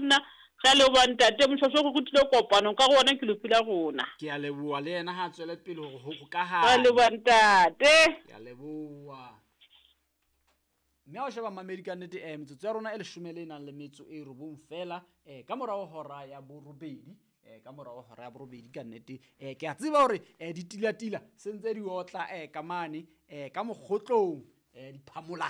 nna. Re a leboha ntate Moshweshwe, o re rutile kopano ka go wona ke lefu la rona. Ke a leboha le yena ha a tswele pele hore ho Re a hokahane. leboha ntate. Ke a leboha. Mme ha o sheba mamedi ka nnete metsotso ya rona e leshome le nang le metso e robong fela ka morao hora ya borobedi ka morao hora ya borobedi ka nnete ke a tseba hore ditilatila se ntse di otla ka mane ka mokgotlong diphamola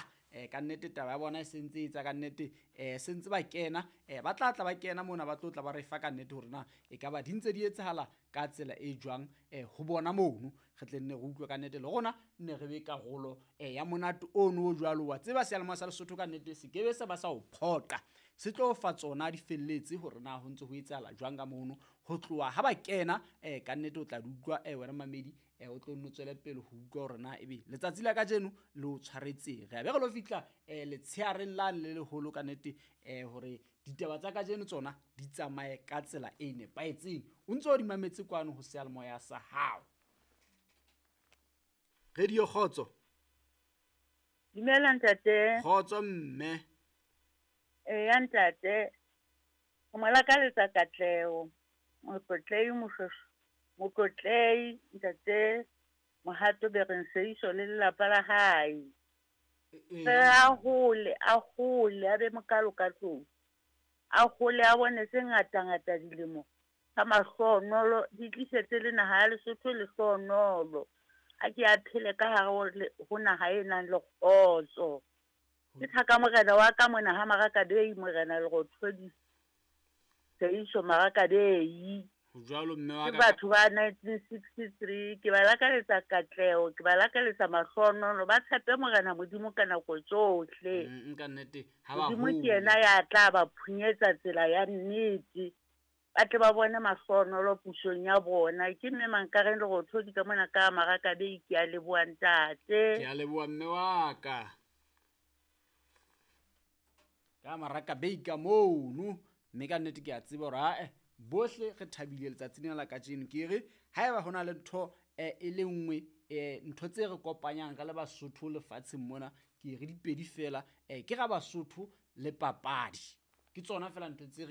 ka nnete taba ya bona e sentse e etsa ka nnete se ntse ba kena ba tla tla ba kena mona ba tlo tla ba re fa ka nnete hore na e ka ba di ntse di etsahala ka tsela e jwang ho bona mono re tle nne re utlwe ka nnete le rona nne re be karolo ya monate ono o jwalo. Wa tseba seyalemoya sa Lesotho ka nnete se kebe se ba sa o phoqa, se tlo fa tsona di felletse hore na ho ntse ho etsahala jwang ka mono ho tloha ha ba kena ka nnete o tla di utlwa wena mamedi o tlo nno tswele pele ho utlwa hore na ebe letsatsi la kajeno le o tshwaretseng. Re a be re lo fihla letsheareng lane le leholo ka nnete hore ditaba tsa kajeno tsona di tsamaye ka tsela e nepahetseng. O ntso o di mametse kwano ho seyalemoya sa hao. Radio Kgotso. Dumela ntate. Kgotso mme. Eya ntate. O mo lakaletsa katleho. Motlotlehi Moshweshwe. Motlotlehi ntate Mohato Bereng Seiso le lelapa la hae. Re a hole, a hole, a be mokalo ka tlung. A hole a bone tse ngata ngata dilemo tsa mahlohonolo di tlisetse le naha ya Lesotho lehlohonolo. A ke a phele ka hare ho naha e nang le kgotso. Ke thaka morena wa ka mona ha Marakabei, morena Lerothodi Seiso Marakabei. Ho jwalo mme wa Ke ka. batho ba 1963, ke ba lakaletsa katleho, ke ba lakaletsa mahlohonolo, ba tshepe morena Modimo ka nako tsohle. Ka nnete ha ba Modimo ke hole. yena ya tla ba phunyetsa tsela ya nnete. Ba tle ba bone mahlohonolo pusong ya bona. Ke mme Mankareng Lerothodi ka mona ka Marakabei, ke a leboha ntate. Ke a leboha mme wa ka. Ka Marakabei ka mono, mme ka nnete ke a tseba hore ae bohle re thabile letsatsing lena la kajeno. Ke re haeba hona le ntho e le nngwe ntho tse re kopanyang re le Basotho lefatsheng mona, ke re dipedi fela ke ra Basotho le papadi. Ke tsona fela ntho tse re